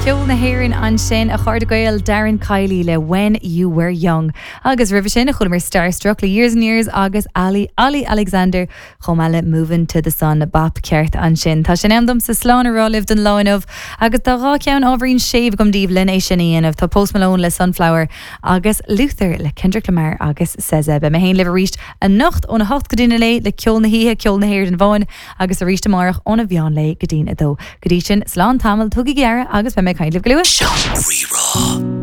Ceol na hÉireann ansin, a chairde Gael, Darren Kiely le When You Were Young. Agus roimhe sin, chualamar Starstruck le Years and Years agus Ali Olly Alexander chomh maith le Movin' to the Sun, bap ceart ansin. Tá sé in am domsa slán a rá libh don lá inniu agus tá 2 cheann ábhairín séimh agam daoibh len é sin a dhéanamh. Tá Post Malone le Sunflower agus Luther le Kendrick Lamar agus SZA. Beidh mé féin libh arís anocht óna hocht go dtí'n a naoi le ceol na hoíche, ceol na hÉireann amháin, agus arís amárach óna mheán lae go dtí'n 2. Go dtí sin, slán tamall, tugaigí aire agus beidh mé ag caint libh go luath. Seo Rí-Rá.